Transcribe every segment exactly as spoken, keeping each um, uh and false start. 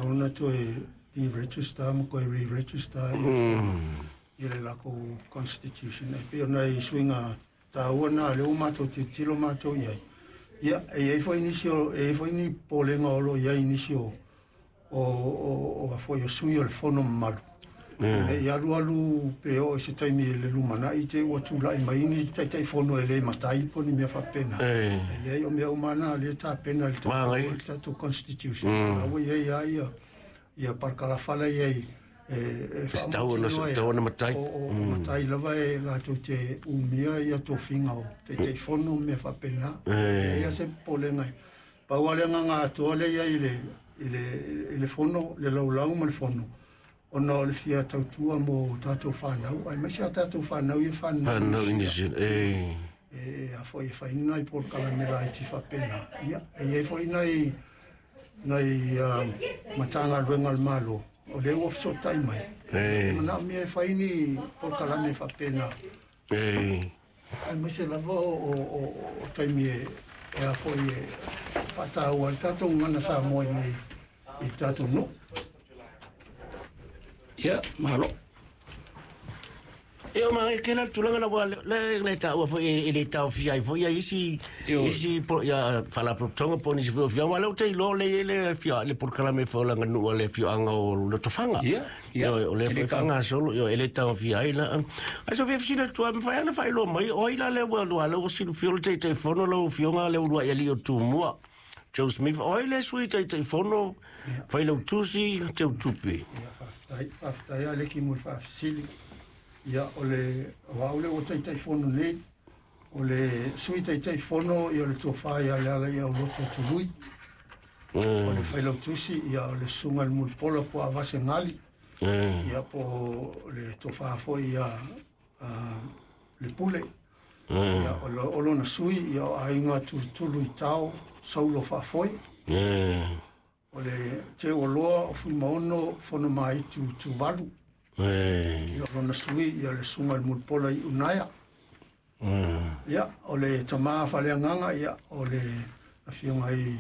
tatau ona toe deregister ma toe re-register ia le lakou constitution. E pei o nai suiga taua na lea ua matou tilotilo matou i ai. Ia, e i ai foi nisi o, e i ai foi ni polega o lo o i ai nisi o o o o foi o sui o le fono mamalu. E i alu alu pe oo i se taimi i le lumanai te ua tulai mai ni taitaifono e le matai po o ni mea faapena. E leai, o mea uma na lea e tapena i le tatou, le tatou constitution. O la ua i ai lava ia ia parakalafa la i ai e e faamautinoa ai o o matai lava e latou te umia ia tofiga o taitaifono ma mea faapena. E leai lava se popolega. Pau lava le agaga atoa lea i ai i le i le i le fono, le laulau ma le fono, ona o le fia tautua mo tatou fanau, aemaise a tatou fanau ia fanau i Niu Sila. E e a foi e fai ni nai polokalame laiti faapena. Ia, e i ai foi nai nai uh, Matagaluega a le Malo o lea ua fesootai mai e manaomia e fai ni polokalame faapena, aemaise lava o, o, o, o taimi e, e a foi e faataua ai le tatou gagana Samoa i nei i le tatou nuu. Ia, malo. E o magai ke la tulaga la ua le le taua foi e le taofia ai foi ia isi isi po ia faalapotopotoga po o nisi foi o afioaga. Aua o lea ou te iloa o lea e i ai le afioaga le polokalame foi o le aganuu a le afioaga o Lotofaga. Ia, ia. O lea foi e faagasolo, e le taofia ai la. Ae so fia fesili atu lava, mafai lava ona faailoa mai o ai la lea ua lua lea ua silafia o le Taitaifono lau Afioga lea uluai alii o Tumua, Joe Smith, o ai le Sui Taitaifono, Failautusi, Teutupe? Ia, faafetai, faafetai lava Leki mo le faafesili. Ia, o le, o au lea ua Taitaifono nei, o le Sui Taitaifono, ia o le Tofa ia Lealaiauloto Tului. O le Failautusi, ia o le Susuga i le Mulipola po o Avase Gali. Ia, po o le Tofa foi ia le Pule. Ia, o, lo, o lona sui, ia o Aiga Tulutulu i Tao, Saulo Faafoe. O le Teualoa o Fuimaono Fonomaitu Tuvalu. Ia, o lona sui, ia le Susuga i le Mulipola i Unaia. Ia, o le Tama Faaleagaga, ia, o le Afioga i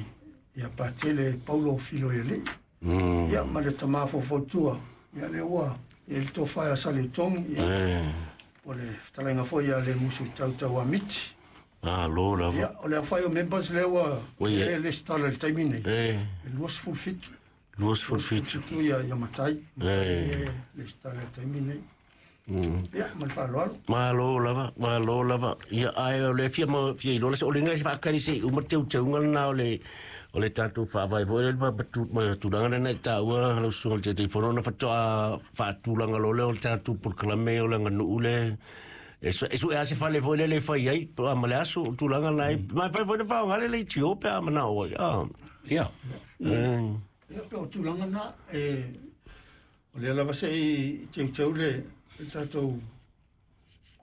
ia Patele Paulo Filoialii. Ia, ma le Tama Faufautua, ia lea ua i ai le Tofa ia Saleutogi, ia, o le fetalaiga foi ia le Musu i Tautau Amiti. Malo lava. Ia, o le aofai o members lea ua Ua i ai. E lesitala i le taimi nei, E e luasefulu fitu. Luasefulu fitu. Fitu ia, ia matai. E. E lesitala i le taimi nei. Ia, ma le faaaloalo. Malo lava, malo lava. Ia, ae o le fia ma fia iloa la se o le ngai se faakali se i uma teuteuga lena o le o le tatou faavae foi lea ma ma tu- ma tulaga lena e taua lau susuga i le Taitaifono ona faatoa faatulaga loa lea o le tatou polokalame o le aganuu le e su- e sue lava se fale foi lele e fai ai po a ma le aso o tulaga na e ma fai foi na faaaoga le leitio pe a manao ai a. Ia. Eh, Ia, pe o tulaga na, e, o lea lava se i teuteu le, le tatou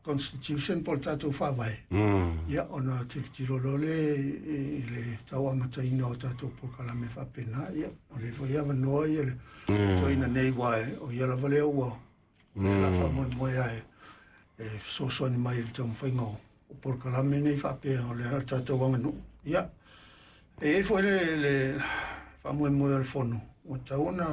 constitution po o le tatou faavae. mm. Ia, ona tilotilo loa lea i, i le tauamataina o tatou polokalame faapena. Ia, o lea foi avanoa ia le toeaina nei ua e, o ia lava lea ua o lea la faamoemoe ae e fesoasoani mai i le taumafaiga o, o polokalame nei faapea o le, le tatou aganuu. Ia, e i ai foi le, le faamoemoe o le fono, ua tatau ona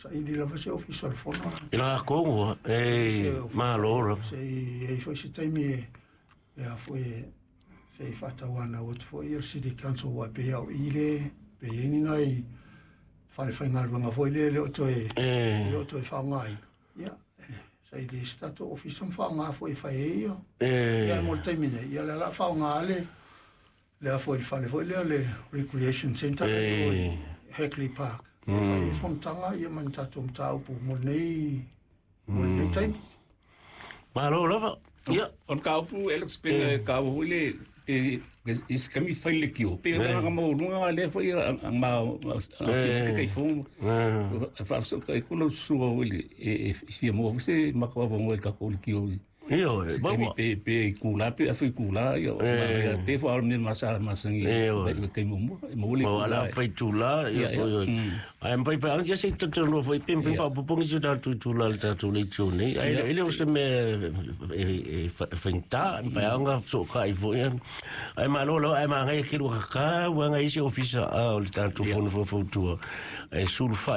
saili lava se ofisa o le fono. I lakou e Se ofisa, malo lava. Se i ai foi se taimi e, e a foi e, se i faatauanau atu foi ia le City Council aua e pei au i le, pe i ai ni nai fale faigaluega foi lea e le o toe, E le o toe faaaogaina. Ia, e, saili ai se tatou ofisa ma faaaoga foi e fai ai ia. E Ia, mo le taimi nei, ia le la faaaoga le, le a foi le fale foi lea le Recreation Centre E. o i Hagley Park. E fai ai fonotaga ia ma ni tatou mataupu mo lenei, mo lenei taimi. Malo lava. Ia. O le kaupu, Alex, pe kau foi le pe pe is kami fai le kio. Pe na nga mo lunga le foi a ma a fi ke fo. Fa so ka ko lo su o le e e si mo se ma ko mo ka ko le kio. Io e Se kami ba pe pe kula pe a fi kula ia Eh. pe fo al me masa masangi Eh, o. pe ke mo mo mo le Ma kula. ala fai tula Ia, ia ia. Mm. ai mpai pai ia se tatu foi pim pim Ia. fa pupongi su tatu tula le tatu le tuni ai Ia. ele o se me e fainta mpai anga so ka i foi ai ma lo lo ai ma ngai ke lu ka wa ngai se ofisa a o le tatu Ia. fono fo fo tua e sulfa.